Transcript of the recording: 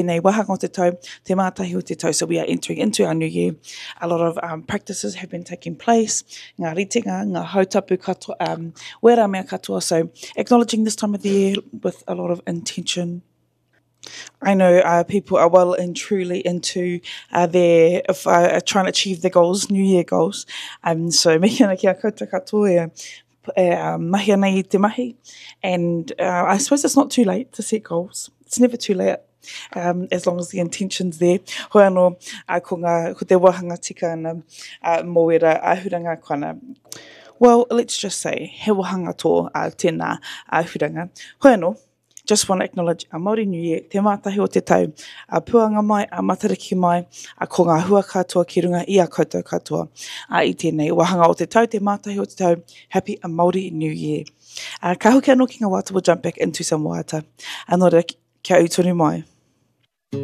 Tēnei wāhanga o te tau, te mātahi o te tau, so we are entering into our new year. A lot of um, practices have been taking place, ngā ritenga, ngā hautapu katoa, um, wērā mea katoa. So acknowledging this time of the year with a lot of intention. I know uh, people are well and truly into uh, their uh, trying to achieve their goals, New Year goals. Um, so mihi ana ki a koutou katoa e, e um, mahi ana i te mahi. And uh, I suppose it's not too late to set goals. It's never too late. Um, as long as the intention's there. Hoi anō, uh, ko, ngā, ko te wāhanga tika ana uh, mō wera āhuranga koana. Well, let's just say, he wāhanga tō uh, tēnā āhuranga. Hoi anō, Just want to acknowledge our Māori New Year, te mātahi o te tau, a puanga mai, a matariki mai, a ko ngā hua katoa ki runga i a koutou katoa. A i tēnei wāhanga o te tau, te mātahi o te tau, Happy a Māori New Year. A ka hoki anō ki ngā waiata, we'll jump back into some waiata. A nō reira, kia ū tonu mai.